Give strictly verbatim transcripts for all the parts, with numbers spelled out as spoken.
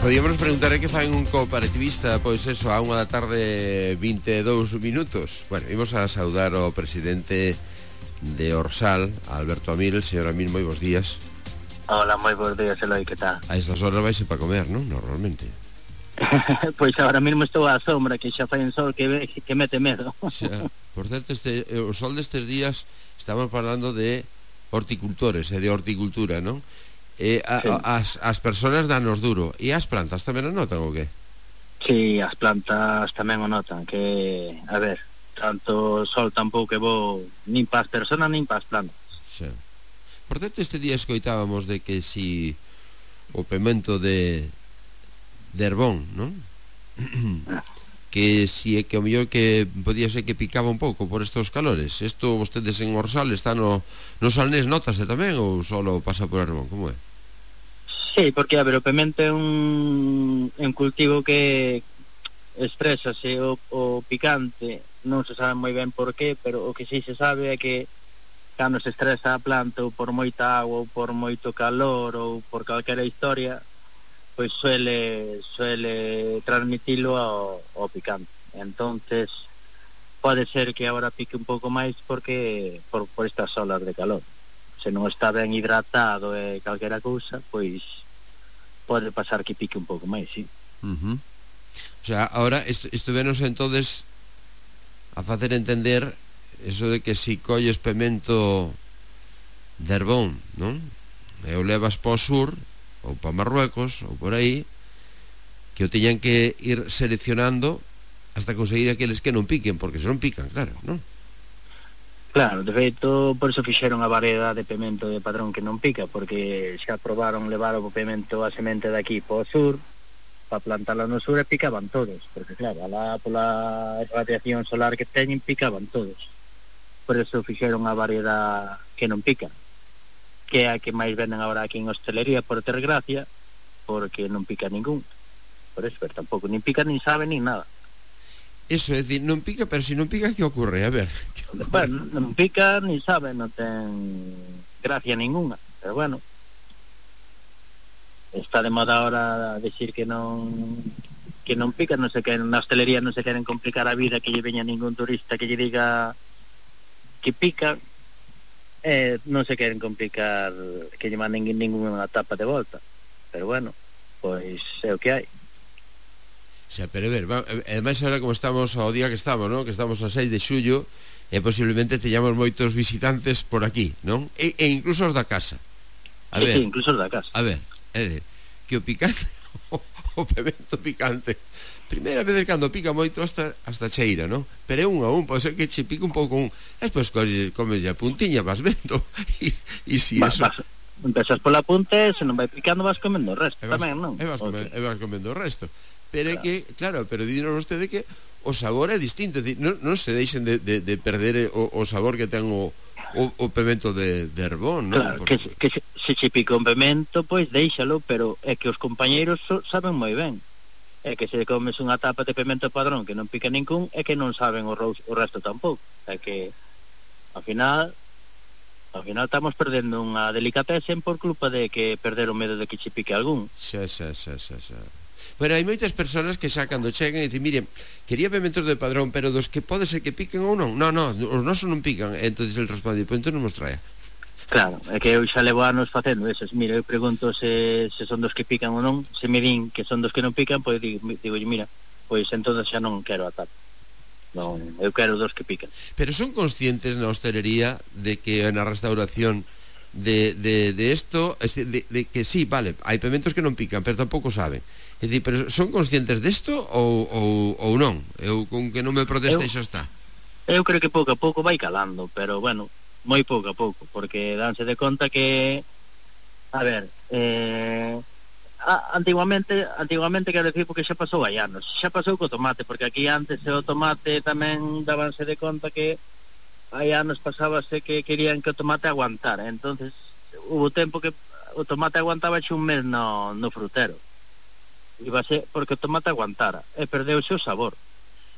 Podíamos preguntar que fan un cooperativista, pois eso, a unha da tarde vinte e dous minutos. Bueno, imos a saudar ao presidente de Orsal, Alberto Amil. Señor Amil, moi bons días. Hola, moi bons días, Eloi, que tal? A estas horas vaise para comer, non? Normalmente. Pois agora mesmo estou á sombra, que xa fai un sol que, ve, que mete medo. Xa, por certo, este, o sol destes días estamos falando de horticultores e de horticultura, non? Eh, a, sí. a, as, as persoas danos duro. E as plantas tamén o notan ou que? Sí, as plantas tamén o notan. Que, a ver, tanto sol tampouco é bo nin para as persoas nin para as plantas. Sí. Por certo, este día escoitábamos de que si o pemento de de Herbón, non? Que si é que o mellor que podía ser que picaba un pouco por estos calores. Isto vostedes en Orsal está no, no Salnés, notase tamén ou solo pasa por Herbón? Como é? Sí, porque, a ver, o pemento é un, un cultivo que estrésase o, o picante, non se sabe moi ben por qué, pero o que sí se sabe é que cando se estresa a planta ou por moita agua ou por moito calor ou por calquera historia, pois suele suele transmitilo ao, ao picante. Entonces pode ser que agora pique un pouco máis porque por, por estas olas de calor. Se non está ben hidratado e calquera cousa, pois pode pasar que pique un pouco máis, sí. Uh-huh. O sea, ahora est estuvenos entonces a facer entender eso de que si colles pemento de Herbón, non? E o levas para o sur ou para Marruecos ou por aí, que o teñan que ir seleccionando hasta conseguir aqueles que non piquen, porque se non pican, claro, non? Claro, de feito, por iso fixeron a variedade de pemento de Padrón que non pica, porque xa probaron levar o pemento a semente de aquí para o sur, para plantalo no sur e picaban todos, porque claro, alá pola radiación solar que teñen picaban todos. Por iso fixeron a variedade que non pica, que é a que máis venden agora aquí en hostelería por ter gracia, porque non pica ningún. Por eso, pero tampouco nin pica, nin sabe, nin nada. Eso, é dicir, non pica, pero se non pica, que ocurre? A ver. Bueno, non pica, nin sabe, non ten gracia ninguna, pero bueno, está de moda ahora decir que non que non pica, non se queren, na hostelería non se queren complicar a vida, que lle veña ningún turista que lle diga que pica, eh, non se queren complicar que lle manden ninguna tapa de volta, pero bueno, pois é o que hai. Xa, pero a ver, ademais agora como estamos ao día que estamos, non? Que estamos a seis de xullo, e posiblemente teñamos moitos visitantes por aquí, non? E, e incluso os da casa. A sí, ver, sí, incluso os da casa. A ver, é de, que o picante, o, o pemento picante, primeira vez cando pica moito hasta, hasta cheira, non? Pero é un a un, pode ser que che pica un pouco un, e despois comes a puntiña, vas vendo, e, e si Va, eso... Vas, empezas pola punta, se non vai picando vas comendo o resto, e vas, tamén, non? E vas, okay. e vas comendo o resto. Pero é claro. que, claro, pero dinos vostede que o sabor é distinto, é dicir, non, non se deixen de, de, de perder o, o sabor que ten o, o, o pemento de, de Herbón, non? Claro, Porque... que, que se, se che pica un pemento, pois deixalo, pero é que os compañeiros so, saben moi ben. É que se comes unha tapa de pemento Padrón que non pica ningún, é que non saben o, ros, o resto tampouco. É que, ao final, ao final estamos perdendo unha delicatesen por culpa de que perder o medo de que che pique algún. Xa, xa, xa, xa, xa. Bueno, hai moitas persoas que xa cando chegan e dicen, mire, quería pementos de Padrón, pero dos que pode ser que piquen ou non. Non, non, os nosos non pican. E entonces el responde, pois entón non nos traia. Claro, é que eu xa levo anos facendo esos. Mira, eu pregunto se, se son dos que pican ou non. Se me din que son dos que non pican, pois digo, digo mira, pois entonces xa non quero a tapa. Non, eu quero dos que pican. Pero son conscientes na hostelería de que na restauración de, de, de esto, de, de que sí, vale, hai pementos que non pican, pero tampouco saben. É dicir, pero son conscientes desto ou, ou, ou non? Eu con que non me proteste xa está. Eu creo que pouco a pouco vai calando, pero bueno, moi pouco a pouco, porque danse de conta que, a ver, eh, a, antiguamente, antiguamente quero decir porque xa pasou hai anos, xa pasou co tomate, porque aquí antes o tomate tamén dabanse de conta que hai anos pasábase que querían que o tomate aguantara, entonces hubo tempo que o tomate aguantaba xe un mes no, no frutero. Iba a ser porque o tomate aguantara e perdeu o seu sabor.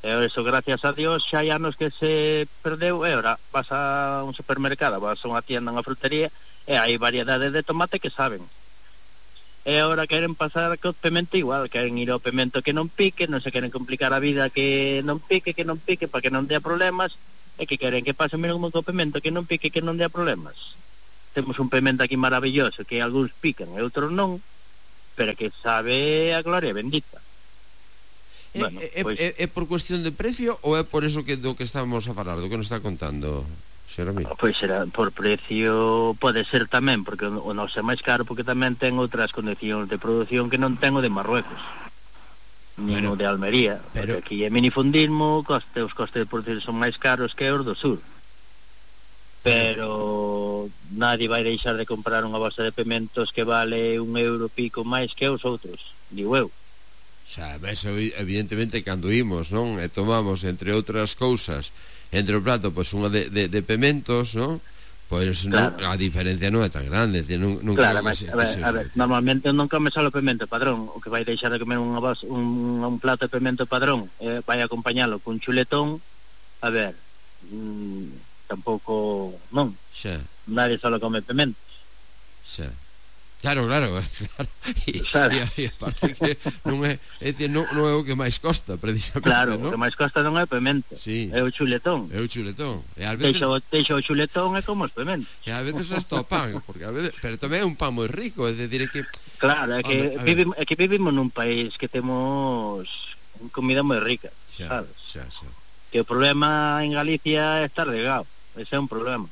E eso, gracias a Dios, xa hai anos que se perdeu e ora vas a un supermercado, vas a unha tienda, unha frutería e hai variedade de tomate que saben. e agora queren pasar co pemento igual, queren ir ao pemento que non pique, non se queren complicar a vida que non pique, que non pique, para que non dea problemas, e que queren que pase mesmo co pemento que non pique, que non dea problemas. Temos un pemento aquí maravilloso que algúns pican e outros non, pero que sabe a gloria bendita. É, bueno, é, pues... é, é por cuestión de precio ou é por eso que do que estamos a falar, do que nos está contando? Pois será por precio, pode ser tamén, porque o noso é máis caro, porque tamén ten outras condicións de produción que non ten o de Marruecos, nin bueno, o de Almería, pero... porque aquí é minifundismo, coste, os costes de produción son máis caros que os do sur, pero nadie vai deixar de comprar unha bolsa de pementos que vale un euro pico máis que os outros, digo eu. Xa, eso evidentemente cando imos, non? E tomamos, entre outras cousas, entre o prato, pois unha de, de, de pementos, non? Pois claro. non, a diferencia non é tan grande, non, non claro, mas, se, a, ver, a ver, normalmente non come só o pemento padrón, o que vai deixar de comer unha voz, un, un plato de pemento padrón, eh, vai acompañalo cun chuletón, a ver, mmm, tampouco, non, xa. Nadie só come pementos. Xa. Claro, claro, claro. E, claro. e, e aparte que non é, é decir, non, non é o que máis costa, precisamente, claro, ¿no? O que máis costa non é o pemento, sí. É o chuletón. É o chuletón. E ás veces... Deixa, deixa o chuletón é como os pementos. E ás veces hasta o pan, porque ás veces... pero tamén é un pan moi rico, é decir, é que... Claro, é que, vivimos, é que vivimos nun país que temos comida moi rica, xa, sabes? Xa, xa. Que o problema en Galicia é estar regado, ese é un problema.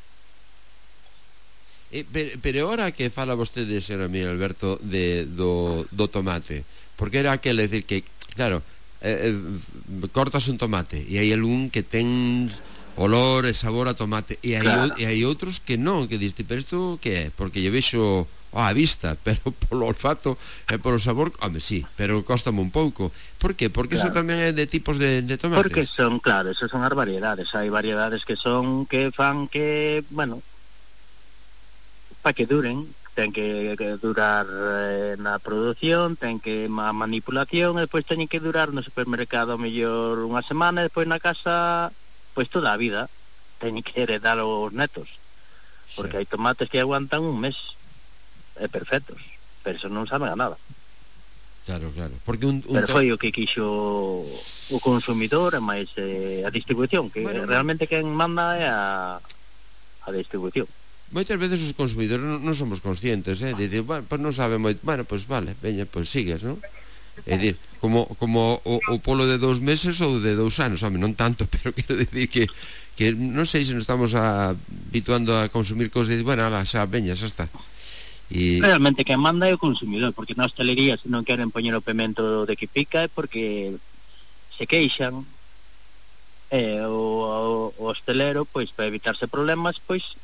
Eh, pero, pero ahora que fala vostede, señor Miguel Alberto, de, do, do tomate, porque era aquel, é dicir que, claro, eh, eh, cortas un tomate e hai algún que ten olor e sabor a tomate e hai, claro. E hai outros que non, que diste, pero isto que é? Porque lle vexo á vista, pero polo olfato e polo sabor, home, sí, pero cóstame un pouco. Por que? Porque claro. Eso tamén é de tipos de, de tomates. Porque son, claro, esas son as variedades, hai variedades que son, que fan que, bueno, para que duren, ten que, que durar eh, na produción, ten que a manipulación, e despois teñen que durar no supermercado a mellor unha semana, e despois na casa pois toda a vida teñen que heredar os netos, porque sí. Hai tomates que aguantan un mes é perfectos, pero eso non saben a nada. Claro, claro, porque un, un pero foi o que quixo o consumidor e máis eh, a distribución, que bueno, realmente quen manda é a, a distribución. Moitas veces os consumidores non, non somos conscientes, eh, de decir, bueno, pues non sabe moito, bueno, pois pues vale, veña, pois pues sigues, non? É dicir, como, como o, o polo de dous meses ou de dous anos, home, non tanto, pero quero dicir que, que non sei se nos estamos a, habituando a consumir cousas e, bueno, ala, xa, veña, xa está. E... realmente quen manda é o consumidor, porque na hostelería se non queren poñer o pemento de que pica é porque se queixan, e o, o, o hostelero, pois, para evitarse problemas, pois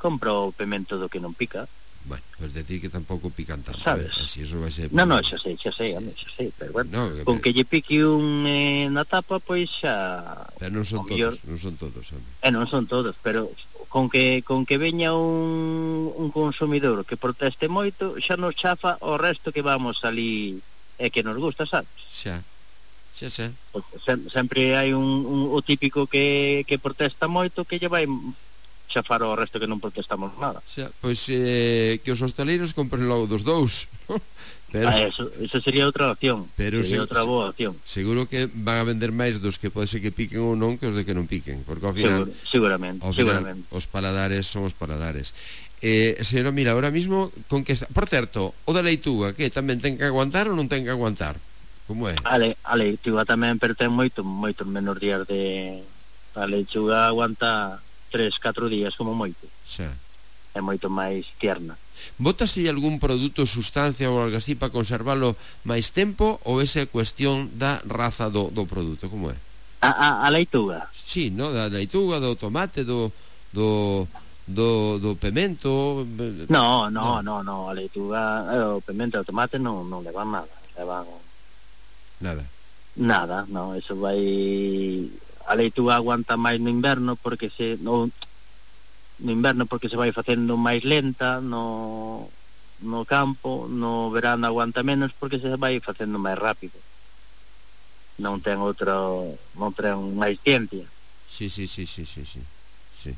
compra o pemento do que non pica. Bueno, pues decir que tampouco pican tanto, sabes? Eh? Así eso vai ser... Non, non, xa sei, xa sei, sí. xa sei, pero bueno, no, que con que lle pique un eh, na tapa, pois xa... Pero non son todos, mellor... non son todos, home. Eh, non son todos, pero con que con que veña un, un consumidor que proteste moito, xa nos chafa o resto que vamos ali e que nos gusta, sabes? Xa. Xa, xa. Sem, sempre hai un, un o típico que, que protesta moito que lle vai chafar o resto que non protestamos nada. Xa, pois eh, que os hostaleiros compren logo dos dous, ¿no? Pero, ah, eso, eso sería outra opción, pero sería se, outra boa opción. Seguro que van a vender máis dos que pode ser que piquen ou non que os de que non piquen, porque ao final, Seguro, seguramente, ao final seguramente. Os paladares son os paladares. Eh, señora, mira, ahora mismo con que está... Por certo, o da leituga, que tamén ten que aguantar ou non ten que aguantar? Como é? A, le, a leituga tamén, pero ten moito, moito menos días de... A leituga aguanta tres, catro días como moito. Xa. É moito máis tierna. Bótase algún produto, sustancia ou algo así para conservalo máis tempo, ou esa é cuestión da raza do, do produto, como é? A, a, a leituga? Sí, no, da leituga, do tomate, do do do, do pemento. No, no, no, no, no. A leituga, o pemento e o tomate non, non levan nada, levan nada. Nada, no, eso vai... A leituga aguanta máis no inverno porque se no, no inverno porque se vai facendo máis lenta, no no campo, no verano aguanta menos porque se vai facendo máis rápido. Non ten outro, non ten máis ciencia. Sí, sí, sí, sí, sí, sí. Sí.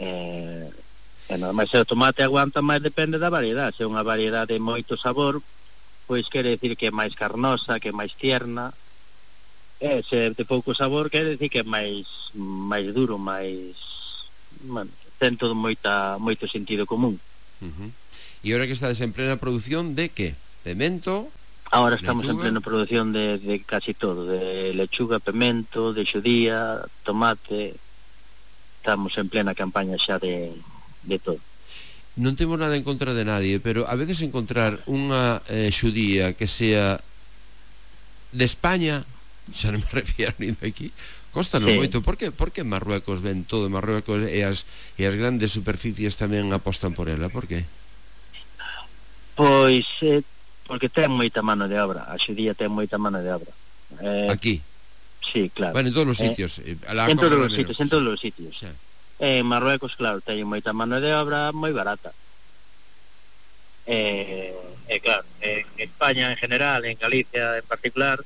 Eh, e nada máis o tomate aguanta máis, depende da variedade. Se é unha variedade de moito sabor, pois quere decir que é máis carnosa, que é máis tierna. E se de pouco sabor quere decir que é máis máis duro, máis, bueno, ten todo moita moito sentido común. Uh-huh. E agora que estades en plena produción de que? Pemento? Ahora estamos lechuga? En plena produción de, de casi todo, de lechuga, pemento, de xudía, tomate. Estamos en plena campaña xa de, de todo. Non temos nada en contra de nadie, pero a veces encontrar unha eh, xudía que sea de España, xa non me refiero nin de aquí, costanos sí. moito. Por que, por que Marruecos ven todo? Marruecos e as, e as grandes superficies tamén apostan por ela, por que? Pois eh, porque ten moita mano de obra, a xudía ten moita mano de obra. Eh, Aquí? Sí, claro. Bueno, en todos os eh, sitios. Eh, en todos os sitios, en todos os sitios. Sí. En Marruecos, claro, ten moita mano de obra moi barata. E, eh, eh, claro, en España en general, en Galicia en particular,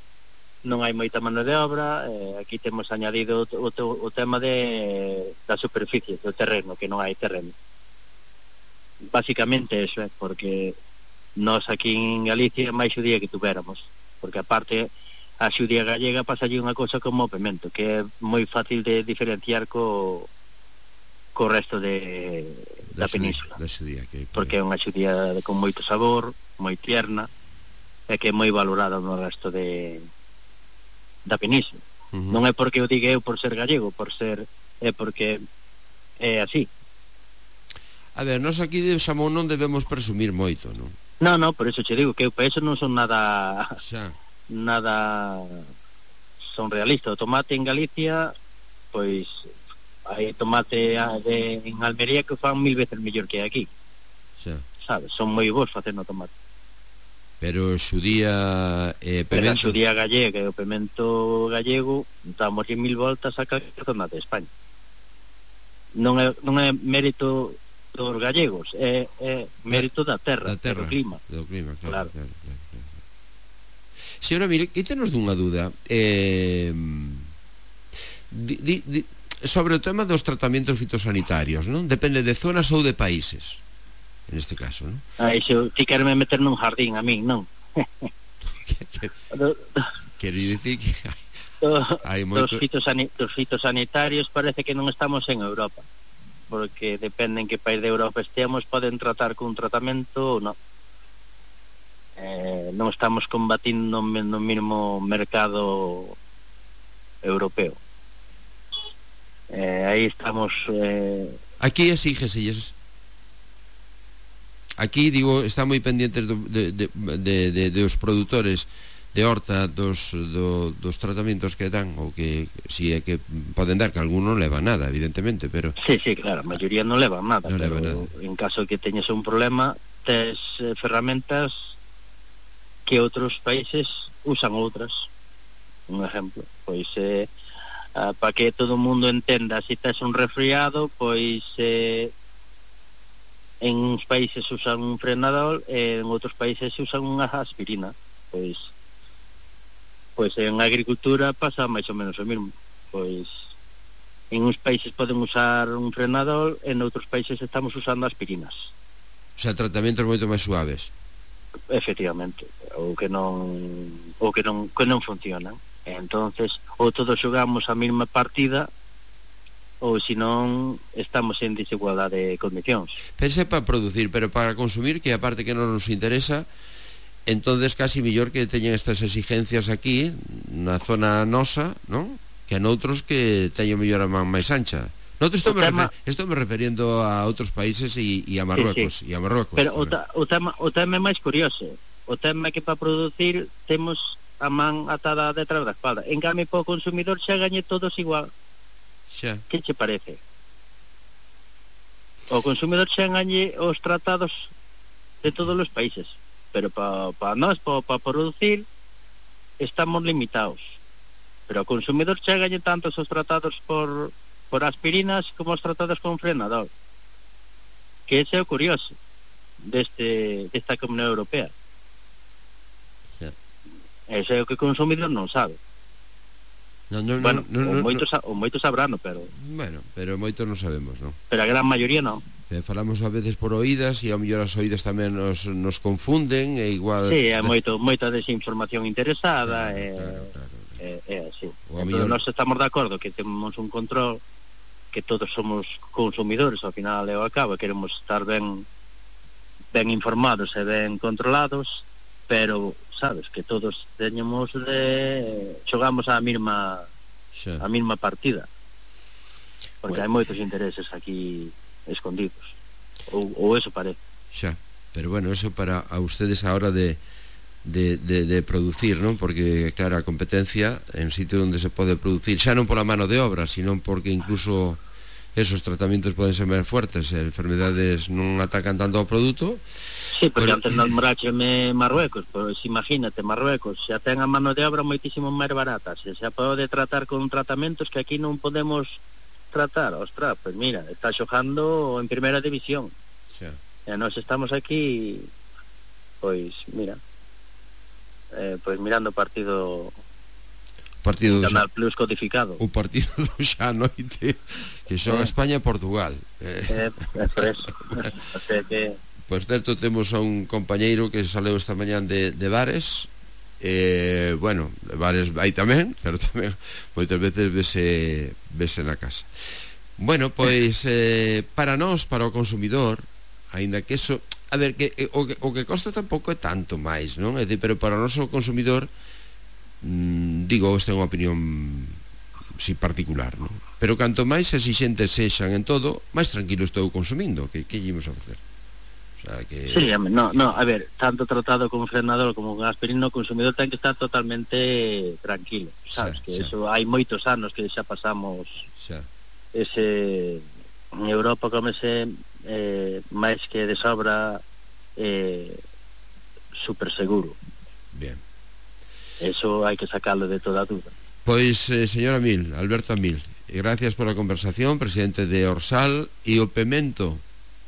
non hai moita mano de obra. Eh, aquí temos añadido o, o, o tema de da superficie, do terreno, que non hai terreno. Básicamente eso, é, eh, porque nós aquí en Galicia máis xudía que tuveramos, porque aparte a xudía gallega pasa allí unha cosa como o pemento, que é moi fácil de diferenciar co co resto de da, da península, da xudía, que, que... porque é unha xudía con moito sabor, moi tierna, e que é moi valorada no resto de da península. Uh-huh. Non é porque o diga eu por ser gallego, por ser, é porque é así. A ver, nós aquí de xamón non debemos presumir moito, non? Non, non, por eso che digo que eu para eso non son nada xa. nada son realista. O tomate en Galicia, pois hai tomate de, en Almería que fan mil veces mellor que aquí. Xa. Sabes, son moi bons facendo tomate. Pero xudía eh, pemento... Pero a xudía gallega e o pemento gallego damos mil voltas a calquer zona de España. Non é, non é mérito dos gallegos, é, é mérito da terra, da terra, do clima. Do clima, claro, claro. claro, claro, claro. Señora, mire, quítenos dunha dúda eh, di, di, di, sobre o tema dos tratamentos fitosanitarios, non? Depende de zonas ou de países, en este caso, non? Ah, iso, ti querme meter nun jardín a min, non? Quero dicir que do, hai moito... dos, fitosani, dos fitosanitarios parece que non estamos en Europa, porque depende en que país de Europa estemos, poden tratar con un tratamento ou non. Eh, non estamos combatindo no mínimo mercado europeo. Eh, aí estamos... Eh... Aquí exígeselles. Aquí, digo, está moi pendientes do, de, de, de, de, de os produtores de horta dos, do, dos tratamentos que dan, ou que si é que poden dar, que algún non leva nada, evidentemente, pero... Sí, sí, claro, a maioría non leva nada, non pero leva nada. En caso que teñes un problema, tes eh, ferramentas que outros países usan outras. Un exemplo, pois eh, ah, para que todo o mundo entenda, se si tes un resfriado, pois eh, en uns países usan un frenadol e en outros países usan unha aspirina. Pois pois en agricultura pasa máis ou menos o mesmo. Pois en uns países poden usar un frenadol e en outros países estamos usando aspirinas. O sea, tratamentos moito máis suaves. Efectivamente, ou que non ou que non que non funcionan. Entonces, ou todos xogamos a mesma partida, ou senón estamos en desigualdade de condicións. Pense para producir, pero para consumir, que aparte que non nos interesa, entonces casi mellor que teñen estas exigencias aquí na zona nosa, non? Que noutros que teñen mellor a man máis ancha. Noutros estou me, tema... refer... estou me referindo a outros países e, e a Marruecos, sí, sí. e a Marruecos. Pero o, ta, o, tema, o tema é máis curioso. O tema é que para producir temos a man atada detrás da espalda. En cambio, para o consumidor xa gañe todos igual. Xa. Que che parece? O consumidor xa gañe os tratados de todos os países. Pero para pa nós, para pa producir, estamos limitados. Pero o consumidor xa gañe tantos os tratados por... por aspirinas como os tratados con frenador, que ese é o curioso deste, desta Comunidade Europea. Yeah. Ese é o que o consumidor non sabe. No, no, bueno, no, no, o, no, moitos, no. o moitos sabrano, pero Bueno, pero moito non sabemos, non? pero a gran maioría non. Eh, falamos a veces por oídas e ao mellor as oídas tamén nos, nos confunden e igual... Sí, hai moito, moita desinformación interesada, claro, e, claro, claro. e, e así. O a Entón, mellor... nós estamos de acordo que temos un control, que todos somos consumidores, ao final e ao cabo, queremos estar ben ben informados e ben controlados, pero, sabes, que todos teñemos de... xogamos a mesma Xa. a mesma partida, porque bueno. hai moitos intereses aquí escondidos, ou, ou eso parece. Xa, pero bueno, eso para a ustedes a hora de De, de, de producir, non? Porque, claro, a competencia en sitio onde se pode producir, xa non pola mano de obra, sino porque incluso esos tratamientos poden ser máis fuertes, e enfermedades non atacan tanto ao produto. Sí, porque pero... antes nombraxeme Marruecos, pois imagínate, Marruecos xa ten a mano de obra moitísimo máis barata, se xa pode tratar con tratamentos que aquí non podemos tratar. Ostras, pois mira, está xogando en primeira división, xa. E nós estamos aquí, pois mira, Eh, pois mirando o partido partido do Canal Plus codificado, o partido do xa noite que xoga eh. España e Portugal, eh, é por eso. O sea que por certo temos a un compañeiro que saleu esta mañán de, de bares, eh, bueno, de bares vai tamén, pero tamén moitas veces vese, vese na casa. Bueno, pois eh, para nós, para o consumidor, aínda que eso, a ver, que o, que o que costa tampouco é tanto máis, non? É dicir, pero para o noso consumidor, mmm, digo, esta é unha opinión si particular, non? Pero canto máis exixentes sexan en todo, máis tranquilo estou consumindo, que que ímos a facer? O sea, que... Sí, no, no, a ver, tanto tratado con frenador como con aspirina, o consumidor ten que estar totalmente tranquilo, sabes? Xa, que xa. Eso hai moitos anos que xa pasamos xa. Ese... En Europa comese eh, máis que de sobra eh, super seguro. Bien. Eso hai que sacarlo de toda dúda. Pois, eh, señora Mil, Alberto Amil, gracias pola conversación, presidente de Orsal. E o pemento,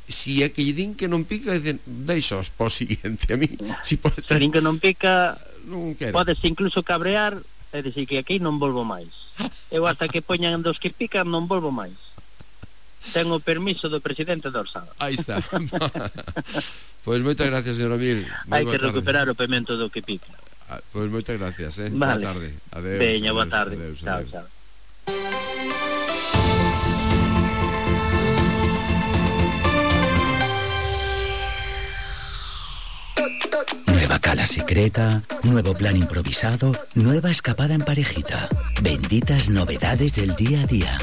si é que lle din que non pica, deixos po siguiente. A mí, si pode estar... Se din que non pica, non quero. Podes incluso cabrear e dicir que aquí non volvo máis. Eu hasta que poñan dos que pican non volvo máis. Ten o permiso do presidente do Orsal. Aí está. Pois moitas gracias, señor Amil. Hai que recuperar o pemento do que pica. Ah, pois moitas gracias, eh. Vale. Boa tarde. Adeus. Veña, boa tarde. Adeus, chao, adeus. chao. Nueva cala secreta, nuevo plan improvisado, nueva escapada en parejita. Benditas novedades del día a día.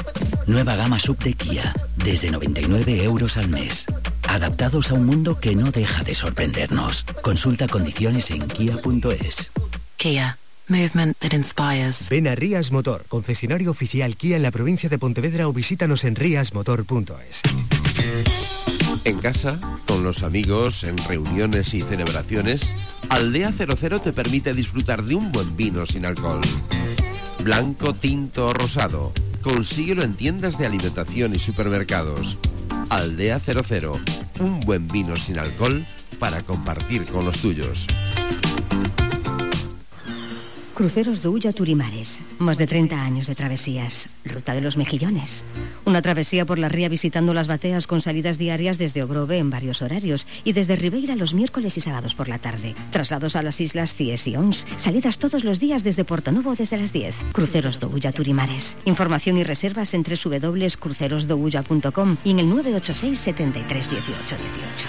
Nueva gama sub de Kia, desde noventa y nueve euros al mes. Adaptados a un mundo que no deja de sorprendernos. Consulta condiciones en kia punto es. Kia. Movement that inspires. Ven a Rías Motor, concesionario oficial Kia en la provincia de Pontevedra, o visítanos en rías motor punto es. En casa, con los amigos, en reuniones y celebraciones, Aldea cero cero te permite disfrutar de un buen vino sin alcohol. Blanco, tinto o rosado. Consíguelo en tiendas de alimentación y supermercados. Aldea cero cero, un buen vino sin alcohol para compartir con los tuyos. Cruceros do Ulla Turimares. Más de treinta años de travesías. Ruta de los Mejillones. Una travesía por la ría visitando las bateas con salidas diarias desde Ogrove en varios horarios y desde Ribeira los miércoles y sábados por la tarde. Traslados a las islas Cies y Ons. Salidas todos los días desde Portonovo desde las diez. Cruceros do Ulla Turimares. Información y reservas en doble u doble u doble u punto cruceros do ulla punto com y en el nueve ocho seis, setenta y tres, dieciocho, dieciocho.